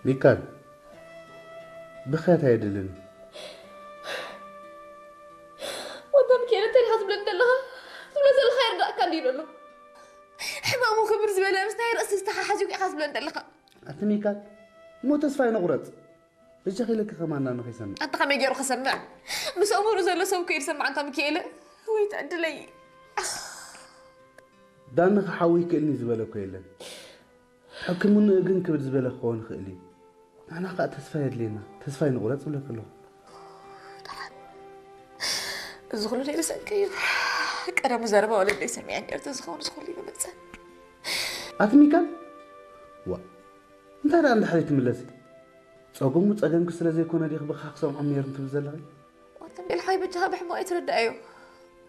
ሚካል፣ ብኽያት ኣየድልን። ወንታ ሚካኤል እንታይ ኢኻ ትብለኒ ዘለኻ? ትብሎ ዘለኻ ይርዳእካ እንዲ ይበሎ። ሕማሙ ክብር ዝበለ ምስ ናይ ርእሲ ዝተሓሓዙ ኢኻ ትብለኒ ዘለኻ። ኣቲ ሚካል፣ እሞ ተስፋ ይነቑረጽ። በጃኺ ኢለኪ ከማና ንኸይሰምዕ። ኣንተ ከመይ ገይሩ ክሰምዕ? ምስ እምሩ ዘሎ ሰብ ከይድ ሰምዕ ኣንታ ሚካኤል። ወይ ትዕድለይ። ዳኒ ክሓዊ ይክእልኒ ዝበለ እኮ የለን። ሕክምንኡ ግን ክብድ ዝበለ ክኸውን ይኽእል እዩ። ንሕና ከዓ ተስፋ የድልየና። ተስፋ ይንቑረጽ እብለኪ ኣለኹ። እዚ ኩሉ ናይ ርእሰንከ እዩ። ቀደሙ ዘረባ ወለደይ ሰሚዐ ነርተ ዝኸውን ዝኹሉ ይመፀ። ኣቲ ሚካል፣ ዋ እንታይ ደኣ እንድሕሪ ትምለሲ? ጸገሙ ጸገምኪ ስለ ዘይኮነ ዲኺ ብኻ ክሰምዖም ነይርም ትብል ዘለኺ? ዋንተ ቤልሓይ በጃኻ ብሕማቕ ኣይትረዳእዮ።